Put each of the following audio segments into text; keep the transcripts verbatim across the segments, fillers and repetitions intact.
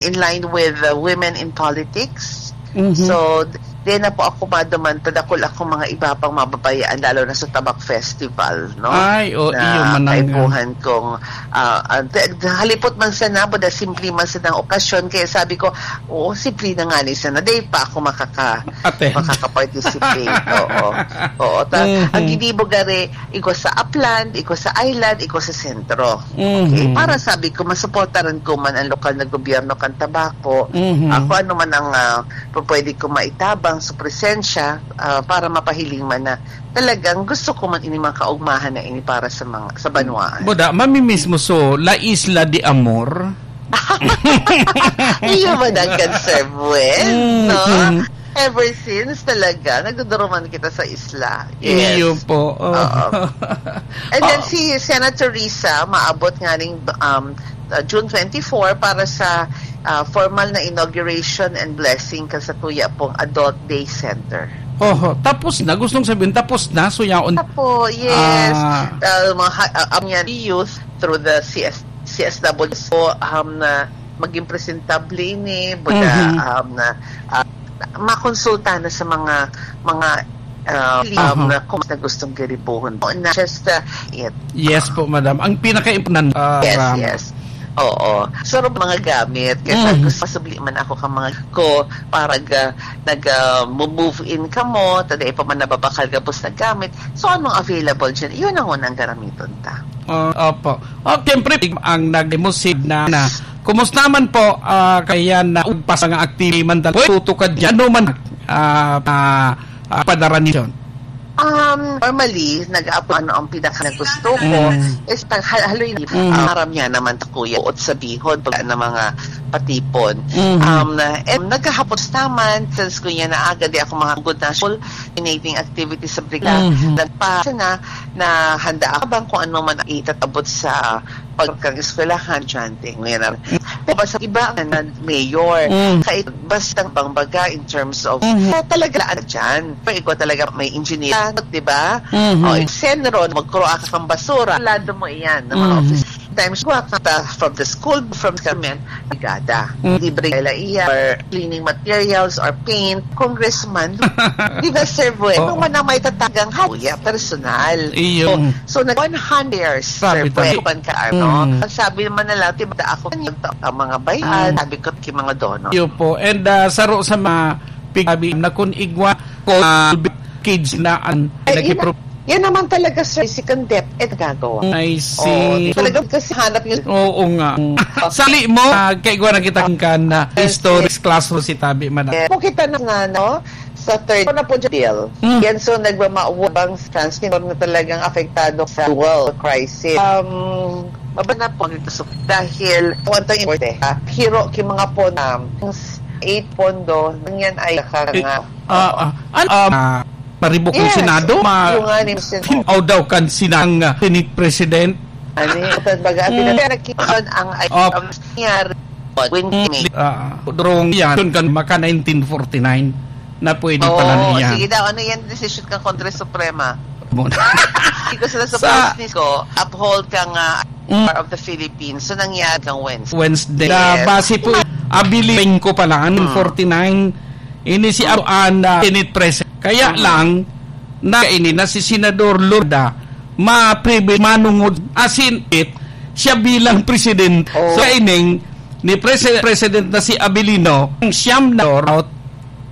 in line with, uh, women in politics. Mhm. So, di na po ako maduman, tadakol akong mga iba pang mababayaan, lalo na sa Tabak Festival, no? Ay, o, Na iyo man ang kaipuhan kong, ah, ah, de-, de-, halipot man sana, boda simple man sana ang okasyon. Kaya sabi ko, "Oo, simple na nga ni sana. Di pa ako makaka-, Attend. makaka-participate." Oo. Oo. Ta-, Mhm. ang ginibo gari, igwa sa upland, igwa sa island, igwa sa sentro. Mhm. Okay? Para sabi ko, masuportaran ko man ang lokal na gobyerno kan Tabaco. Mhm. Ah, kung ano man ang, ah, pwede ko maitabang sa presensya, ah, para mapahiling man na talagang gusto ko man ini mga kaugmahan na ini para sa mga, sa banwaan. Buda, mamimiss mo so, La Isla de Amor? Iyo man ang concern, Wes, Mm, no? mm. Ever since talaga, nagduduruman kita sa isla. Yes. Iyo po. Oo. Oo. And then Oo. si Senator Risa, maabot nga ning, um, uh, June twenty-four para sa, uh, formal na inauguration and blessing kan satuya pong Adult Day Center. Oho, tapos na. Gustong sabihin, tapos na. So, yaon. Apo, yes. Ah. Uh, mga ha-, uh, um, yan, youth through the C S, C S W. So, um, na maging presentable ini, buda, Mhm. um, na, ah, makonsulta na sa mga, mga, ah, Aha. um, na kung na gustong garibuhon. O, na just, uh, it. Yes po, madam. Ang pinaka-importante, ah, Yes, Ram. yes. Oo. So, mga gamit. Kaya sabi ko, Mhm. pasubli man ako ka mga ko, para ga-, nag, ah, mo-move in ka mo, taday pa man nababakal gabos na gamit. So, anong available dyan? Yun ang unang garamiton ta. Ah, opo. Oh, siyempre, ang nagmusid na, na. Kumusta man po, ah, kaya na ugpas nga activity man tal-, tutukad niya, ano man, ah, ah, ah, padara niyo? Um, normally, nag-aap-, ano, ang pinaka na gusto ko Mm. is tang-, hal-, haloy na, Mm. ah, aram niya naman ta, kuya, uot sa bihon, pag na mga patipon. Mm. Um, na, eh, naghahapos naman, since kuya na aga, di ako mga good na school, coordinating activities sa brigada. Mm. Nagpa-, na, na handa ako bang kung ano man ang itatabot sa pagkang eskwelahan, chanting, ngayon na. Pero sa iba, na mayor, Mm. kahit basta bang baga in terms of, Mhm. eh, talaga laan dyan. Pero ikaw talaga may engineer, di ba? Mhm. O, senro, magkuro ka kang basura, lado mo iyan, ng mga Mhm. office. Times, kuha ka ta from the school, from government, brigada. Mm. Libre ka la iya, or cleaning materials, or paint, congressman. Di ba, Sir Buen? Oo. Kung man ang may tatagang haya, personal. Iyo. So, so, nag one hundred years, Grabe Sir Buen, talaga. Kuwan ka, ano? Mm. Ang sabi naman na lang, "Di ba ako, ang mga bayaan?" Mm. Sabi ko, "Ki mga dono." Iyo po. And, ah, saro sa mga pigsabi na kun igwa ko, ah, kids na an-, Ay, yun nagipro- na, yan naman talaga, sir, si Condep, eh, nagagawa. I see. Oo, talaga kasi hanap yun. Oo nga. Sali mo, ah, kaigwa na kita kan, ah, Yes, historic yes. classroom si Tabi man. Yes. Kung kita na, na, no? Sa third, ano po, Jadil? Mm. Yan, so, nagmamawabang sa transgender na talagang apektado sa dual crisis. Um, mabana po dito sa, dahil, kung ang tawag, ah, hiro, ki mga pon-, um, eight pondo, yan ay Eh, kaka-, ah, ah, ano, ah, maribok ang Yes. Senado? Ma-, Yung nga ni Sen-, oh. Aw daw kan sinang, ah, Senate President? Ano yun? Ito, baga, Mm. pinag-, ang, Oh. ang nangyari, when Mm. Ah, drong yan, yun kan maka nineteen forty-nine na pwede Oo, pala niya. Sige daw, ano yan, decision kan Korte Suprema? Muna. Hindi ko sila sa Sa business ko, uphold kang, ah, Mm. Power of the Philippines. So, nangyari kang Wednesday. Wednesday. Yes. Na base po, abiling ko pala, ano, Mm. forty-nine, ini si Mm. Aruan na Senate President. Kaya Mm. lang, na ini na si Senador Lourdes, ma-, pribi-, manungod, asin it, siya bilang president. Oh. So, ining, ni Presi-, President na si Abilino, ang siyam na out,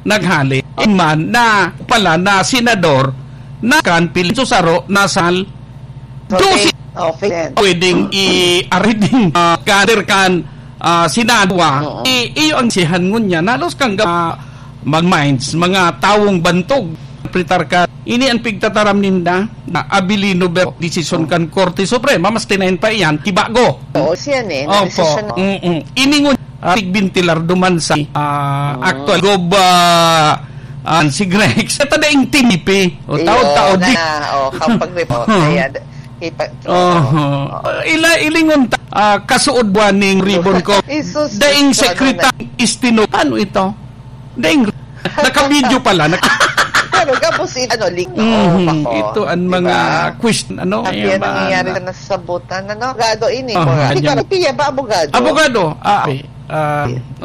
naghali. In man na pala na senador na kan Pilipinas saro na sal So, dosi okay, okay. Pwedeng i-ariding, ah, kader kan, ah, Senado, ah. Oo. I-, iyo ang sihan ngun niya. Nalos kang ga-, mag-minds, mga tawong bantog. Pritar ka. Ini ang pigtataram ninda na Abilino Ber-, desisyon Oo. kan Korte Suprema, mas tinayin pa iyan, kibago. Oo, siya ni, Opo. na-desisyon. Mm-mm. Ini ngun, ah, tigbintilar duman sa, ah, Mm. actual gob, ah, ah, si Greg. Sa tadaing T V P. O, Iyo, taod-taod na, di. na, o, kapag report, Hmm. kaya, ipa-, Oho. Ila, ilingon ta, ah, kasuod buwan ning ribbon ko. Jesus, Daing ano secretary na? Istino. Ano ito? Daing, naka-video pala. Naka- Pero gabos in, ano, link. Mhm. Oo, ako. Ito ang mga Diba? question, ano, Ang ayan yan ba? nangyayari na sa sabutan, ano? Abogado ini, Aha, mga. Hindi yan. ka, piya ba, abogado? Abogado. Ah, okay. Ah,